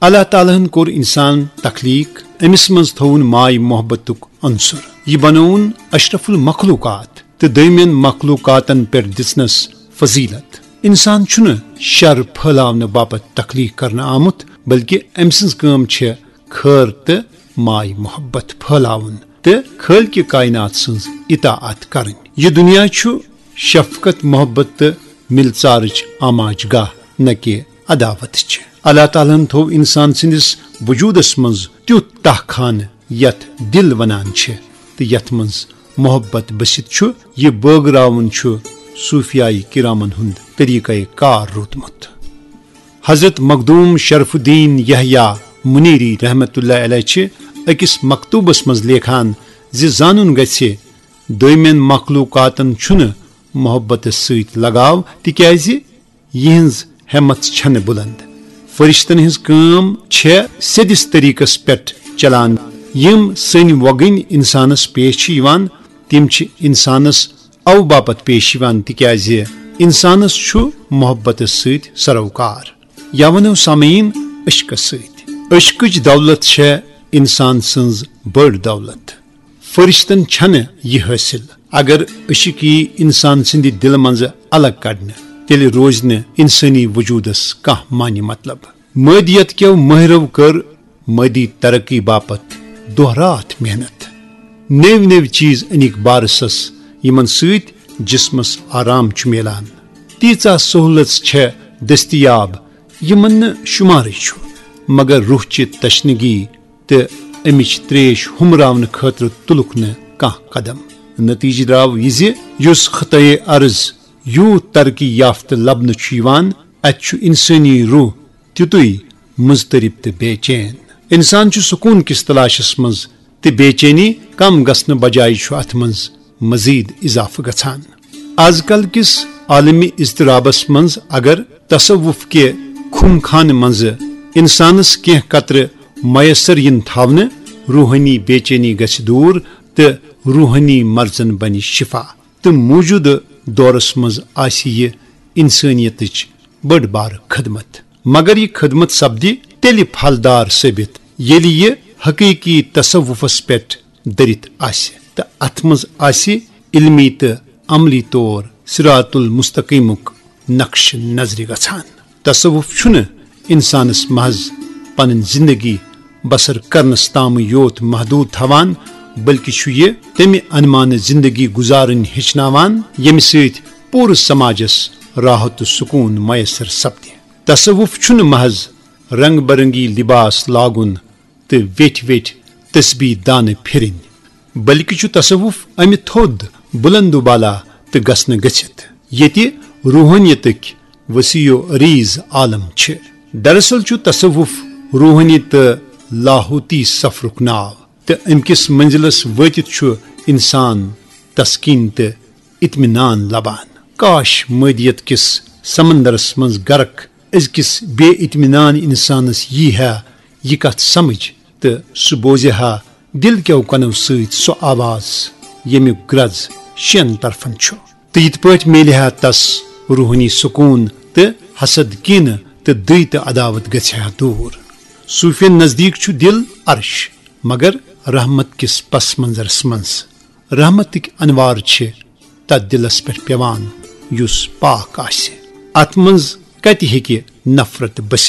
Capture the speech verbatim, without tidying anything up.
اللہ تعالیٰ ہن کوٚر انسان تخلیق، أمِس منٛز تھووُن ماے محبتُک عنصر۔ یہِ بنووُن اشرف المخلوقات تہٕ دوٚیمٮ۪ن مخلوقاتن پٮ۪ٹھ دِژنس فضیلت۔ انسان چھُنہٕ شر پھٲلاونہٕ باپتھ تخلیق کرنہٕ آمُت، بلکہِ أمۍ سٕنٛز کٲم چھےٚ خٲر تہٕ ماے محبت پھٲلاوُن تہٕ خٲلقِ کائنات سٕنٛز اطاعت کرٕنۍ۔ یہِ دُنیا چھُ شفقت، محبت تہٕ مِلژارٕچ آماج گاہ، نہ کہِ عداوتٕچ۔ اللہ تعالیٰ ہن تھوو انسان سٕنٛدِس وجودس منٛز تیُتھ تاہ خانہٕ یتھ دل ونان چھِ تہٕ یتھ منٛز محبت بٔسِتھ چھُ۔ یہِ بٲگراوُن چھُ صوفیایہِ کرامن ہُنٛد طریقہ کار روٗدمُت۔ حضرت مخدوم شرف الدین یحییٰ منیری رحمتہ اللہ علیہ چھِ أکِس مکتوبس منٛز لیکھان زِ زانُن گژھِ، دوٚیمٮ۪ن مخلوقاتن چھُنہٕ محبتس سۭتۍ لگاو، تِکیازِ یِہنٛز ہمت چھنہٕ بلند۔ فرشتن ہٕنٛز کٲم چھےٚ سیٚدِس طریقس پٮ۪ٹھ چلان۔ یِم سٔنۍ وۄگٕنۍ انسانس پیش چھِ یِوان، تِم چھِ انسانس او باپتھ پیش یِوان، تِکیازِ انسانس چھُ محبتس سۭتۍ سروکار۔ یا ونو سامعین، عشقس سۭتۍ۔ عشقٕچ دولت چھےٚ انسان سٕنٛز بٔڑ دولت۔ فرشتن چھنہٕ یہِ حٲصِل۔ اگر عشق یی انسان سٕنٛدِ دلہٕ منٛزٕ الگ کڑنہٕ، تیٚلہِ روزِ نہٕ انسٲنی وجودس کانٛہہ معنی مطلب۔ مٲدیت کیو مٲہرو کٔر مٲدی ترقی باپتھ دۄہ راتھ محنت۔ نٔوۍ نٔوۍ چیز أنِکھ بارسس، یِمن سۭتۍ جسمس آرام چھُ میلان۔ تیٖژاہ سہولژ چھےٚ دٔستیاب، یِمن نہٕ شُمارٕے چھُ، مگر روح چہِ تشنگی تہٕ امِچ تریش ہُمراونہٕ خٲطرٕ تُلُکھ نہٕ کانٛہہ قدم۔ نتیجہٕ درٛاو یہِ زِ یُس خطے ارض یوٗت ترقی یافتہٕ لبنہٕ چھُ یِوان، اتہِ چھُ انسٲنی روح تیُتُے مضطرب تہٕ بے چین۔ انسان چھُ سکوٗن کِس تلاشس منٛز، تہٕ بے چینی کم گژھنہٕ بجایہِ چھُ اتھ منٛز مزید اضافہٕ گژھان۔ از کل کِس عالمی اضطرابس منٛز اگر تصوف کہِ خُم خانہٕ منٛزٕ انسانس کینٛہہ قطرٕ میسر یِن تھاونہٕ، روحٲنی بے چینی گژھِ دوٗر تہٕ روحٲنی مرضن بنہِ شفا۔ تہٕ موجودٕ دورس منٛز آسہِ یہِ انسٲنیتٕچ بٔڑ بارٕ خدمت۔ مگر یہِ خدمت سپدِ تیٚلہِ پھلدار ثٲبت، ییٚلہِ یہِ حقیقی تصوفس پٮ۪ٹھ دٔرِتھ آسہِ تہٕ اتھ منٛز آسہِ علمی تہٕ عملی طور صراط المستقیمُک نقشہٕ نظرِ گژھان۔ تصوف چھُنہٕ انسانس محض پنٕنۍ زندگی بسر کرنس تام یوت محدود تھاوان، بلکہ چھُ یہِ تمہِ انمانہٕ زندگی گزارٕنۍ ہیٚچھناوان، ییٚمہِ سۭتۍ پوٗرٕ سماجس راحت تہٕ سکوٗن میسر سپدِ۔ تصوف چھُنہٕ محض رنگ برنگی لباس لاگُن تہٕ ویٹھۍ ویٹھۍ تسبیح دانہٕ پھرٕنۍ، بلکہ چھُ تصوف امہِ تھوٚد، بلند و بالا تہٕ گژھنہٕ گٔژھِتھ، ییٚتہِ روحٲنیتٕکۍ وسیع و عریض عالم چھِ۔ دراصل چھُ تصوف روحٲنی تہٕ لاہوتی سفرُک ناو، تہٕ امہِ کِس منزلس وٲتِتھ چھُ انسان تسکین تہٕ اطمینان لبان۔ کاش مٲدیت کِس سمندرس منٛز غرق أزکِس بے اطمینان انسانس یی ہا یہِ کتھ سمجھ تہٕ سُہ بوزِ ہا دل کیو کنو سۭتۍ سۄ آواز، ییٚمیُک گرز شٮ۪ن طرفن چھُ۔ تہٕ یِتھ پٲٹھۍ میلہِ ہا تس روحٲنی سکوٗن تہٕ حسد، کینہٕ تہٕ دٕے تہٕ عداوت گژھِ ہا دوٗر۔ صوفین نزدیک چھُ دل عرش، مگر رحمت کِس پس منظرس منٛز۔ رحمتٕکۍ انوار چھِ تتھ دلس پٮ۪ٹھ پٮ۪وان یُس پاک آسہِ۔ اتھ منٛز کتہِ ہیٚکہِ نفرت بٔسِتھ؟